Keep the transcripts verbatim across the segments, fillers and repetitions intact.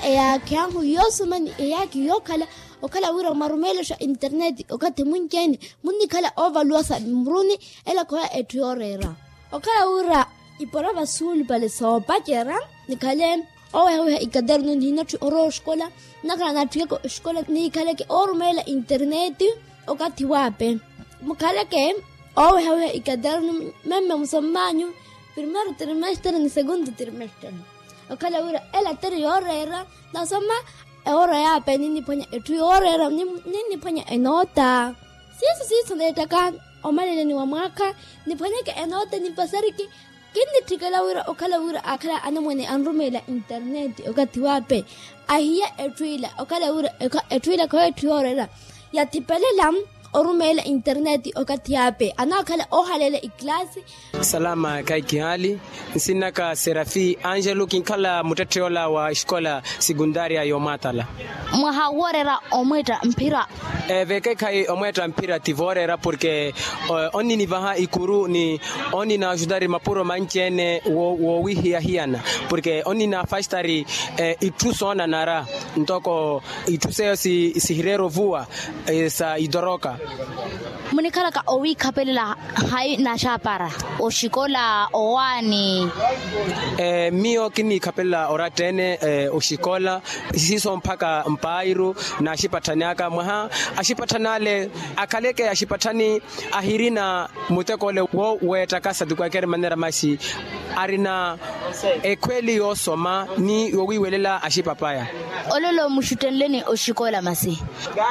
eyaakhi ahu yoosoma ni eyaakhi yookhala okhala wira mwarumeelexa interneti okathi munci-ene munnikhala oovaluwasa mmuruni. Ela khoya etthu yooreera okhala wira ipora vasuulupale soopacerya nikhale oowehaweha ikaternu nihinatthi orowa oxikola nnakhala naatthikeke oxikola nikhaleke oorumeela interneti. Okathi waape mukhaleke oowehaweha ikaternu memme musomm'anyu primeiro trimestre ni segundo trimestre. Okhala wira ela teri yooreera nasoma ewoora yaape ninniphwanya etthu yooreera ninniphwanya enoota siiso siiso neettaka omaleleni wa mwaakha niphwanyeke enoota nipasariki. Kinnitthikela wira okhala wira aakhala anamwane anrumeela interneti okathi waape ahiya etthu ila okhala wira etthu ila khoyo etthu yooreera yathipelela orumeela interneti okathi yaape anaakhala oohaleela ikilasi. Salama khayi kihaali nsinnaka serafi angelo kinkhala muttetthe yoola wa exikola sekundaria yoomaatala. Mwaha wooreera omweetta mphira. Vekeekhayi omweetta mphira ti vooreera porke onninivaha ikuru ni onninaxutari mapuro manci-ene woowihiyahiyana porke onninafastari itthu soonanara ntoko itthu seyo sihireera ovuwa sa itoroka. Munikhalaka owiikhapelela hayi naxapara oxikola owaani? Miyo kinniikhapelela oratta-ene oxikola siiso mpakha mpairu naaxipatthani aka mwaha axipatthani ale akhaleke axipatthani ahirina muteko ole wo weettakasa ti kwalker manera masi arina ekhweli yoosoma ni yowiiwelela axipapaya. Olelo muxuttenleni oxikola masi?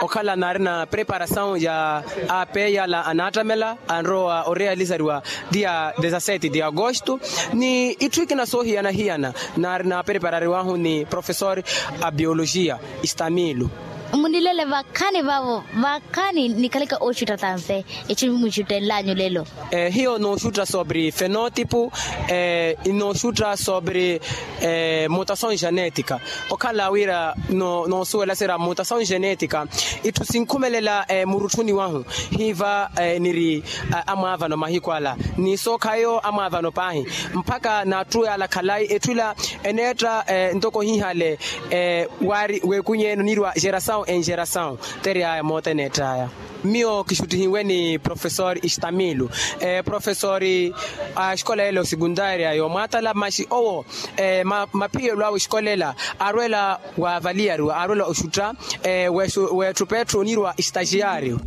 Okhala naarina preparasawu ya apeya ala anaattamela anrowa orealizariwa dia dezasete de agosto ni itthu ikina soohiyana-hiyana naari naapreparariwahu ni profesor a biologia. Istamilo. Munilele vakhani vavo vakhani nikhaleke ooxutta tanse? Itthu muxuttenlanyu lelo. Hiyo nooxutta sobre fenotipo inooxutta sobre mutasawu genetika. Okhala wira noosuwela sira mutasawu genetika itthu sinkhumelela murutthuni wahu hiiva niri amwaavano mahiku ala ni sookhayo amwaavano paahi mpakha naattuweyala khalayi etthu ila eneetta ntoko hihale waari weekunyeene oniriwa gerasawu en gerasawu. Teriyaya moota eneettaya. Miyo kixuttihiwe ni profesor istamilo profesor a exikola ele osekundaria yoomwaatala maxi owo maphiyelo awe exikola ela aarwela waavaliyariwa aarwela oxutta weetthupa etthu oniriwa estagiario.